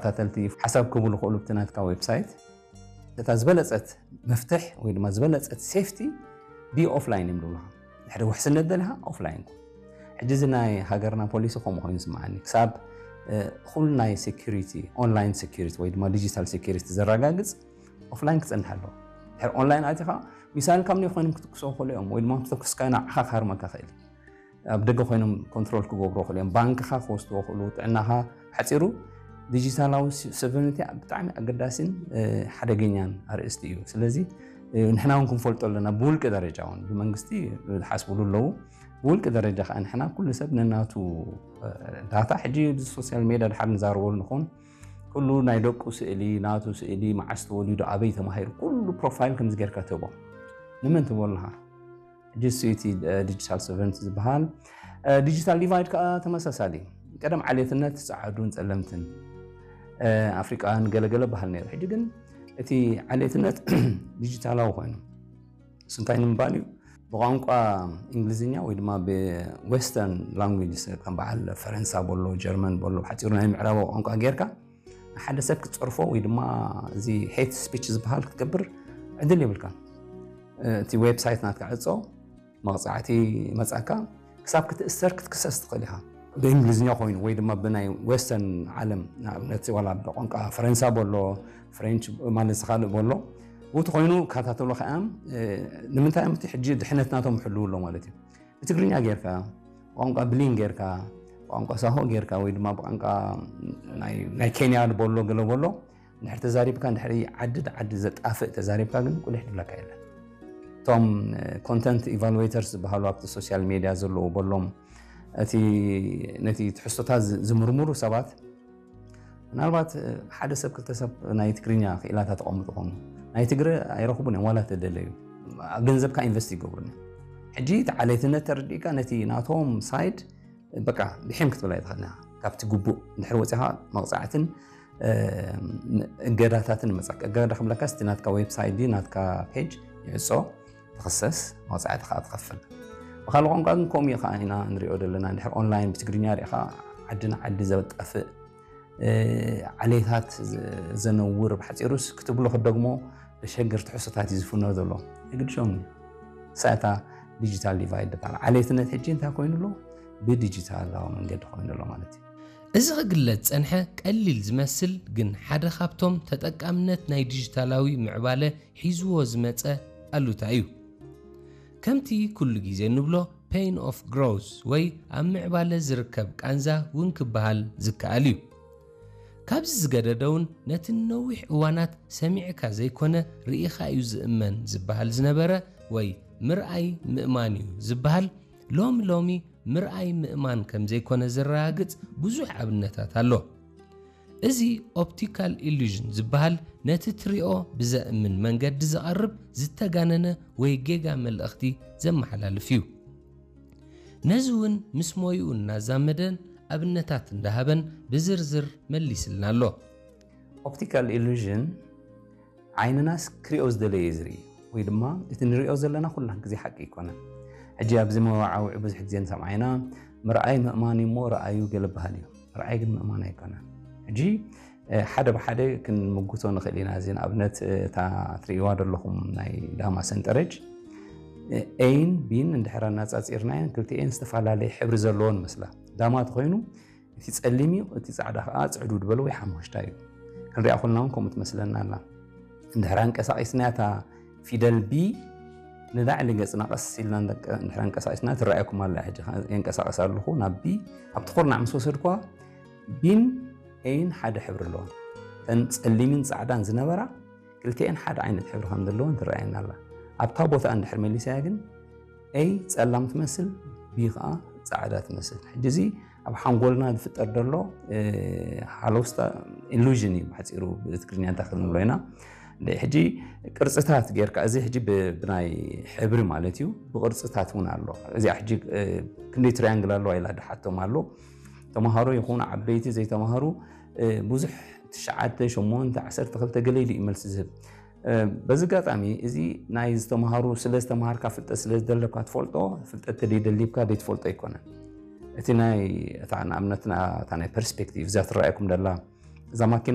ተኸታተልቲ ሓሳብ ክህቡ ዝኽእሉ ኣብቲ ናትካ ዌብሳይት እታ ዝበለጸት መፍትሕ ወይ ድማ ዝበለጸት ሴፍቲ ብኦፍላይን እዮም ዝብሉኻ። ድሕሪ ውሕስነት ደሊኻ ኦፍላይን ኩን። ሕጂ እዚ ናይ ሃገርና ፖሊሲ ከምኡ ኮይኑ ይስምዓኒ። ክሳብ ኩሉ ናይ ሴኩሪቲ፣ ኦንላይን ሴኩሪቲ ወይ ድማ ዲጂታል ሴኩሪቲ ዘረጋግጽ ኦፍላይን ክጸንሕ ኣለዎ። ድሕሪ ኦንላይን ኣቲኻ ሚሳይል ካብ ንይ ኮይኖም ክትኩሶ ክእሉ እዮም ወይ ድማ ተኩስካ ንዓኻ ክሃርመካ ክእል። ኣብ ደገ ኮይኖም ኮንትሮል ክገብሩ ክእሉ እዮም። ባንክኻ ክወስድዎ ክእሉ፣ ጥዕናኻ ሓፂሩ። ዲጂታላዊ ሶቨርኒቲ ብጣዕሚ ኣገዳሲን ሓደገኛን ኣርእስቲ እዩ። ስለዚ ንሕና እውን ክንፈልጦ ኣለና። ብውልቂ ደረጃ እውን ብመንግስቲ ዝሓስብሉ ኣለዉ። ብውልቂ ደረጃ ከዓ ንሕና ኩሉ ሰብ ነናቱ ዳታ፣ ሕጂ ሶሻል ሜድያ ድሓር ንዛረበሉ ንኾን፣ ኩሉ ናይ ደቁ ስእሊ፣ ናቱ ስእሊ፣ መዓስ ተወሊዱ፣ ኣበይ ተማሂሩ፣ ኩሉ ፕሮፋይል ከምዚ ጌርካ ትህቦ። ንመን ትህቦ ኣለኻ? ሕጂ እሱ እቲ ዲጂታል ሶቨርንቲ ዝበሃል። ዲጂታል ዲቫይድ ከዓ ተመሳሳሊ። ቀደም ዓሌትነት ጸዓዱን ጸለምትን ኣፍሪቃን ገለገለ በሃል ነይሩ። ሕጂ ግን እቲ ዓሌትነት ዲጂታላዊ ኮይኑ፣ እሱ እንታይ ንምባል እዩ? ብቋንቋ እንግሊዝኛ ወይ ድማ ብዌስተርን ላንጉጅ፣ ከም በዓል ፈረንሳ በሎ፣ ጀርመን በሎ፣ ሓፂሩ ናይ ምዕራባዊ ቋንቋ ጌርካ ንሓደ ሰብ ክትፀርፎ ወይ ድማ እዚ ሄት ስፒች ዝበሃል ክትገብር ዕድል የብልካ። እቲ ዌብሳይት ናትካ ዕፆ፣ መቕፃዕቲ መፃካ፣ ክሳብ ክትእሰር ክትክሰስ ትኽእል ኢኻ። ብእንግሊዝኛ ኮይኑ ወይ ድማ ብናይ ዌስተርን ዓለም፣ ንኣብነት ዋላ ብቋንቋ ፈረንሳ በሎ፣ ፍሬንች ማለት ካልእ በሎ፣ ብኡ ተኾይኑ ካታተሎ ከኣ፣ ንምንታይ እዮም እቲ ሕጂ ድሕነት ናቶም ይሕልው ኣሎ ማለት እዩ። ብትግርኛ ጌርካ፣ ቋንቋ ብሊን ጌርካ፣ ቋንቋ ሳሆ ጌርካ ወይ ድማ ብቋንቋ ናይ ኬንያ በሎ ገለ በሎ፣ እንድሕር ተዛሪብካ፣ እንድሕር ዓዲ ዓዲ ዘጣፍእ ተዛሪብካ ግን ቁሊሕ ድብለካ የለን። እቶም ኮንተንት ኢቫሉዌተርስ ዝበሃሉ ኣብቲ ሶሻል ሜድያ ዘለዉ በሎም፣ እቲ ነቲ ትሕዝቶታት ዝምርምሩ ሰባት፣ ምናልባት ሓደ ሰብ ክልተ ሰብ ናይ ትግርኛ ክኢላታት ተቐምጡ ኾኑ፣ ናይ ትግረ ኣይረኽቡን እዮም ዋላ ተደለዩ። ገንዘብካ ኢንቨስት ይገብሩን እዮም። ሕጂ እቲ ዓሌትነት ተረዲእካ ነቲ ናቶም ሳይድ በቃ ብሒም ክትብል ኣይትኽእልን ኢኻ። ካብቲ ግቡእ እንድሕር ወፂኻ መቕፃዕትን እገዳታትን መፃካ። እገዳ ክብለካ ስቲ ናትካ ዌብሳይት ድዩ ናትካ ፔጅ ይዕፆ፣ ትኽሰስ፣ መቕፃዕቲ ከዓ ትኸፍል። ብካልእ ቋንቋ ግን ከምኡ ከዓ ኢና ንሪኦ ዘለና። እንድሕር ኦንላይን ብትግርኛ ሪእኻ ዓዲ ንዓዲ ዘጣፍእ፣ ዓሌታት ዘነውር፣ ብሓፂሩስ ክትብሎ ክትደግሞ ዘሸግር ትሕዝቶታት እዩ ዝፍኖ ዘሎ። የግድሾም እዩ። ሳእታ ዲጂታል ዲቫይድ ዝበሃል ዓሌትነት ሕጂ እንታይ ኮይኑ ኣሎ? ብዲጂታላዊ መንገዲ ኮይኑ ኣሎ ማለት እዩ። እዚ ክግለጽ ጸንሐ ቀሊል ዝመስል ግን ሓደ ካብቶም ተጠቃምነት ናይ ዲጂታላዊ ምዕባለ ሒዝዎ ዝመጸ ኣሉታ እዩ። ከምቲ ኩሉ ግዜ እንብሎ ፔን ኦፍ ግሮውስ ወይ ኣብ ምዕባለ ዝርከብ ቃንዛ እውን ክበሃል ዝከኣል እዩ። ካብዚ ዝገደደ እውን ነቲ ንነዊሕ እዋናት ሰሚዕካ ዘይኮነ ርኢኻ እዩ ዝእመን ዝበሃል ዝነበረ ወይ ምርኣይ ምእማን እዩ ዝበሃል ሎሚ ሎሚ ምርኣይ ምእማን ከም ዘይኮነ ዘረጋግጽ ብዙሕ ኣብነታት ኣሎ። እዚ ኦፕቲካል ኢሉዥን ዝበሃል ነቲ ትሪኦ ብዘእምን መንገዲ ዝቐርብ ዝተጋነነ ወይ ጌጋ መልእኽቲ ዘመሓላልፍ እዩ። ነዚ እውን ምስ ሞይኡ እናዛመደን ኣብነታት እንዳሃበን ብዝርዝር መሊስልና ኣሎ። ኦፕቲካል ኢሉዥን ዓይንናስ ክሪኦ ዝደለየ እዩ ዝርኢ ወይ ድማ እቲ ንሪኦ ዘለና ኩላ ግዜ ሓቂ ኣይኮነን። ሕጂ ኣብዚ መዋዓውዒ ብዙሕ ግዜ ንሰምዓ ኢና፣ ምርኣይ ምእማን እዩ እሞ ረኣዩ ገለ በሃል እዩ። ምርኣይ ግን ምእማን ኣይኮነን። ሕጂ ሓደ ብሓደ ክንምጉቶ ንኽእል ኢና። እዚ ንኣብነት እታ ትርእይዋ ዘለኹም ናይ ዳማ ሰንጠረጅ ኤን ቢን እንድሕር ኣናጻጺርናየን ክልቲኤን ዝተፈላለየ ሕብሪ ዘለዎን መስላ። ዳማ ተኾይኑ እቲ ጸሊም እዩ፣ እቲ ጻዕዳ ከኣ ጽዕዱ ዝበለ ወይ ሓሙኽሽታይ እዩ። ክንሪኣ ኮልና እውን ከምኡ ትመስለና ኣላ። እንድሕር ኣንቀሳቒስናያ እታ ፊደል ቢ ንላዕሊ ገጽና ቀስ ኢልና እንድሕር ኣንቀሳቒስና ትረኣየኩም ኣላ። ሕጂ የንቀሳቐስ ኣለኹ ናብ ቢ። ኣብቲ ኩርናዕ ምስ ወሰድኩዋ ቢን ኤን ሓደ ሕብሪ ኣለዎም። እተን ጸሊምን ጻዕዳን ዝነበራ ክልቲኤን ሓደ ዓይነት ሕብሪ ከም ዘለወን ትረኣየና ኣላ። ኣብታ ቦታ እንድሕር መሊሳያ ግን ኤይ ጸላም ትመስል፣ ቢ ኸዓ ጻዕዳ ትመስል። ሕጂ እዚ ኣብ ሓንጎልና ዝፍጠር ዘሎ ሃለውስታ ኢሉዥን እዩ ብሓፂሩ ብትግርኛ እንታይ ክንብሎ ኢና። ሕጂ ቅርፅታት ጌርካ እዚ ሕጂ ብናይ ሕብሪ ማለት እዩ ብቅርፅታት እውን ኣሎ። እዚኣ ሕጂ ክንደይ ትሪያንግል ኣለዋ ኢላ ድሓቶም ኣሎ። ተምሃሮ ይኹኑ ዓበይቲ ዘይተምሃሩ ብዙሕ ትሽዓተ ሸሞንተ ዓሰርተ ክልተ ገለ ኢሉ እዩ መልሲ ዝህብ። በዚ ኣጋጣሚ እዚ ናይ ዝተምሃሩ ስለ ዝተምሃርካ ፍልጠት ስለ ዝደለካ ትፈልጦ ፍልጠት ተደይደሊብካ ዘይትፈልጦ ኣይኮነን። እቲ ናይ እታ ንኣብነትና እታ ናይ ፐርስፔክቲቭ እዛ ትረኣየኩም ደላ እዛ ማኪና